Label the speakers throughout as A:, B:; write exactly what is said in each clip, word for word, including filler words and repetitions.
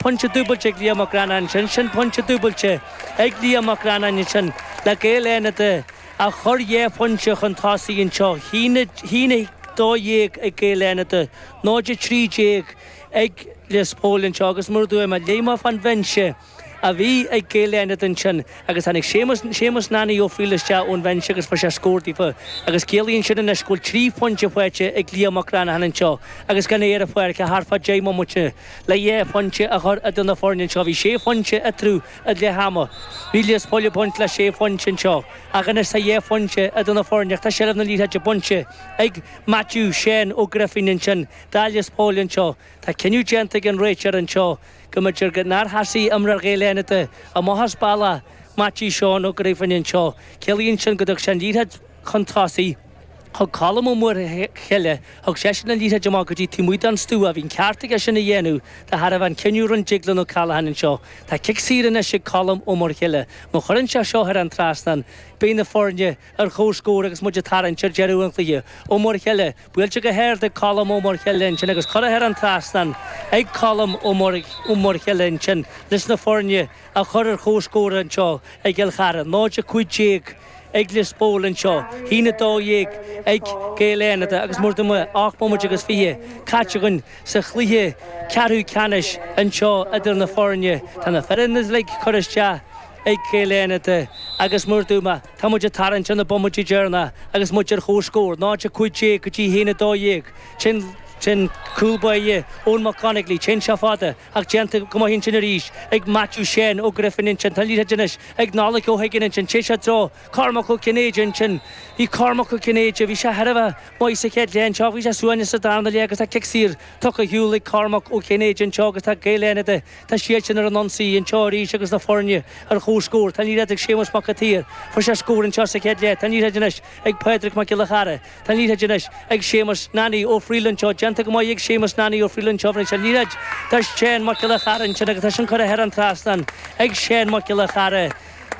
A: Pointe dúbailte ag Liam Mac Reannáin ansin, sin pointe dúbailte ag Liam Mac Reannáin ansin le Gaeil Fhánada a chur dhá phointe chun tosaigh anseo, haon a dó dhéag ag Gaeil Fhánada, náid a trí déag ag Lios Póil anseo agus mar a dúirt mé, léim off an bhinse a bhí ag Gaeil Fhánada ansin agus tháinig Séamus, Séamus Nanny Ó Frighil isteach ón bhinse agus fuair sé scór daofa agus ciallaíonn sin anois go bhfuil trí phointe faighte ag Liam Mac Reannain anseo agus gan é ar an pháirc ach thart fá deich mbomaite le dhá phointe a chur idir na foirne anseo. Bhí sé phointe eatarthu ag leath ama. Bhí Lios Póil ag baint le sé phointe anseo ach anois tá dhá phointe idir na foirne ach tá seilbh na liathróide bainte ag Maitiú Seán Ó Grifín ansin do Lios Póil anseo. Tá cinneadh déanta ag an réiteoir anseo go mb'fhéidir go nár sheasaigh imreoir Ghaeil Fhánada amach as bealach Maitiú Seán Ó Grifín anseo. Ciallaíonn sin go dtug sé an liathróid chun tosaigh chuig Colm Ó Muirthile, thug seisean an liathróid amach go dtí taobh amuigh den stua. Bhí an ceart aige sin a dhéanamh de thairbhe an cinneadh a rinne Deaglán Ó Callaghan anseo. Tá cic saor anois ag Colm Ó Muirthile. Má chuireann sé seo thar an trasnán, beidh na foirne ar comhscór agus muid ag tarraingt ar deireadh an chluiche. Ó Muirthile, buailte go hard ag Colm Ó Muirthile ansin agus curtha thar an trasnán ag Colm Ó Muirthile ansin leis na foirne a chur ar comhscór anseo i gCill Chartha. náid a cúig déag ag Lios Póil anseo, haon a dó dhéag ag Gaeil Fhánada agus mar a dúirt mé ocht mbomaite agus fiche caite againn sa chluiche ceathrú ceannais anseo idir na foirne. Tá na foirne uilig curtha isteach ag Gaeil Fhánada agus mar a dúirt mé, tá muid ag tarraingt ar na bomaití deireanacha agus muid ar comhscór, náid a cúig déag go dtí haon a dó dhéag. Sin sin cúl báire Eoin Mac Conaglaigh, téann sé fada ach déanta go maith ansin arís ag Maitiú Seán Ó Grifín ansin. Tá an liathróid anois ag Nollaig Ó hUiginn ansin, téann sé i dtreo Cormac Ó Cinnéide ansin. Bhí Cormac Ó Cinnéide, bhí sé thar a bheith maith sa chéad leath anseo, bhí sé suaimhneach sa darna leath agus tá cic saor tugtha ar shiúl ag Cormac Ó Cinnéide anseo agus tá Gaeil Fhánada, tá siadsan ar an ionsaí anseo arís agus na foirne ar comhscór. Tá an liathróid ag Séamus Mac an tSaoir, fuair sé scór anseo sa chéad leath. Tá an liathróid anois ag Pádraig Mac Giolla Chara. Tá an liathróid anois ag Séamus Nanny Ó Frighil anseo. Déanta go maith ag Séamus Nanny Ó Frighil anseo. Bhronn sé an liathróid do Sheán Mac Giolla Chara ansin agus tá sin curtha thar an trasnán ag Seán Mac Giolla Chara.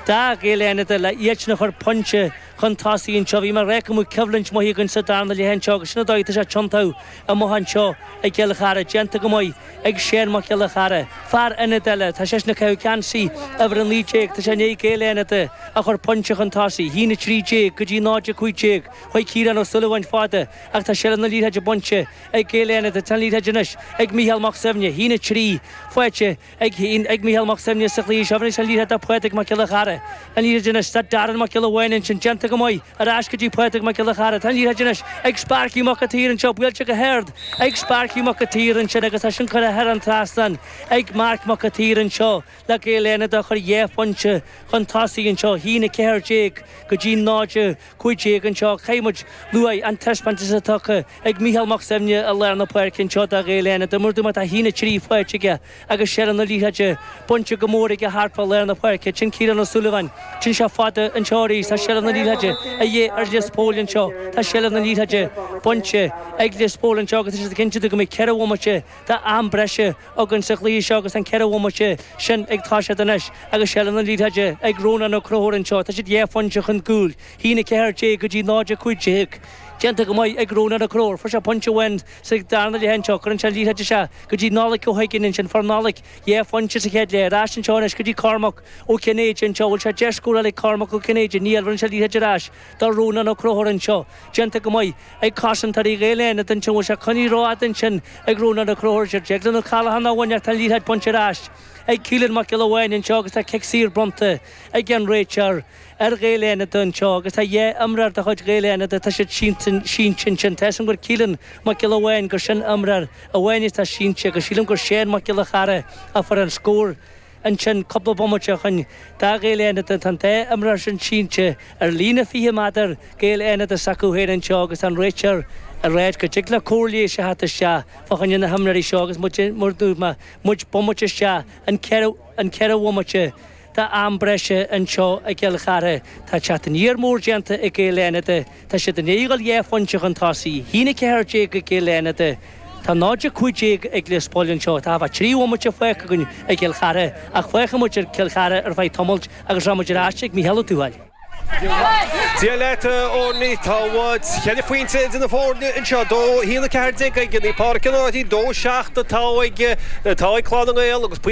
A: Do Ghaeil Fhánada le iadsan a chur pointe chun tosaigh anseo. Bhí mé ag rá go mbeadh coimhlint maith againn sa darna leath anseo agus sin an dóigh atá sé tiontú amach anseo i gCill Chartha. Déanta go maith ag Seán Mac Giolla Chara. Fear ionaid eile, tá seisean ag caitheamh geansaí uimhir a naoi déag. Tá sé i ndiaidh Gaeil Fhánada a chur pointe chun tosaigh, haon a trí déag go dtí náid a cúig déag. Chuaigh Ciarán Ó Súilleabháin fada ach tá seilbh na liathróide bainte ag Gaeil Fhánada. Tá an liathróid anois ag Mícheál Mac Suibhne, haon a trí faighte ag ag Mícheál Mac Suibhne sa chluiche seo. Bhronn sé an liathróid do Phádraig Mac Giolla Chara. An liathróid anois do Darren Mac Giolla Bháin ansin. Déanta go maith ar ais go dtí Pádraig Mac Giolla Chara. Tá an liathróid anois ag Sparky Mac an tSaoir anseo. Buailte go hard ag Sparky Mac an tSaoir ansin agus tá sin curtha thar an trasnán ag Marc Mac an tSaoir anseo le Gaeil Fhánada a chur dhá phointe chun tosaigh anseo, haon a ceathair déag go dtí náid a cúig déag anseo. Caithfidh muid lua an taispeántas atá tugtha ag Mícheál Mac Suibhne i lár na páirce anseo do Ghaeil Fhánada. Mar a dúirt mé tá haon a trí faighte aige agus seilbh na liathróide bainte go mór aige thart fá lár na páirce. Sin Ciarán Ó Súilleabháin. Téann sé fada anseo arís. Tá seilbh na liathróide a dhíth ar Lios Póil anseo. Tá seilbh na liathróide bainte ag Lios Póil anseo agus tá siad ag cinntiú go mbeidh ceithre bhomaite d'am breise againn sa chluiche seo agus an ceithre bhomaite sin ag toiseacht anois agus seilbh na liathróide ag Rónán Ó Conchúir anseo. Tá siad dhá phointe chun cúil, haon a ceathair déag go dtí náid a cúig déag. Déanta go maith ag Rónán Ó Conchúir. Fuair sé pointe amháin sa darna leath anseo. Cuireann sé an liathróid isteach go dtí Nollaig Ó hUiginn ansin. Fuair Nollaig dhá phointe sa chéad leath. Ar ais anseo anois go dtí Cormac Ó Cinnéide anseo. Bhfuil sé deis scóráil ag Cormac Ó Cinnéide? Níl. Bhronn sé an liathróid ar ais do Rónán Ó Conchúir anseo. Déanta go maith ag cosantóirí Ghaeil Fhánada anseo. Bhfuil sé coinnithe rófhada ansin ag Rónán Ó Conchúir. Declan Ó Callaghan a bhain ach tá an liathróid bainte ar ais ag Keelan Mac Giolla Bháin anseo agus tá cic saor bronnta ag an réiteoir ar Ghaeil Fhánada anseo agus tá dhá imreoir de chuid Ghaeil Fhánada, tá siad sínte ansin. Tá a fhios agam gur Keelan Mac Giolla Bháin gur sin imreoir amháin atá sínte agus sílim gur Seán Mac Giolla Chara a fuair an scór ansin cúpla bomaite ó shin do Ghaeil Fhánada. Tá an dá imreoir sin sínte ar líne fiche méadar Gaeil Fhánada s'acu féin anseo agus tá an réiteoir ag ráit go dtig le cóir leighis a theacht isteach fá choinne na himreoirí seo agus muid mar a dúirt mé muid bomaite isteach an ceithre an ceithre bhomaite d'am breise anseo i gCill Chartha. Tá teacht aniar mór déanta ag Gaeil Fhánada. Tá siad i ndiaidh dul dhá phointe chun tosaigh, haon a ceathair déag ag Gaeil Fhánada. Tá náid a cúig déag ag Lios Póil anseo. Tá thart fá trí bhomaite fágtha againn i gCill Chartha ach fágfaidh muid ar Cill Chartha ar feadh tamaill agus rachaidh muid ar ais ag Mícheál Ó Tuathail.
B: Dia leat óní tá cheithre phointe idir na foirne anseo dó haon a ceathair déag ag Naomh Pádraig Cill na Martra dó seacht atá ag atá ag Clanna nGael agus pointe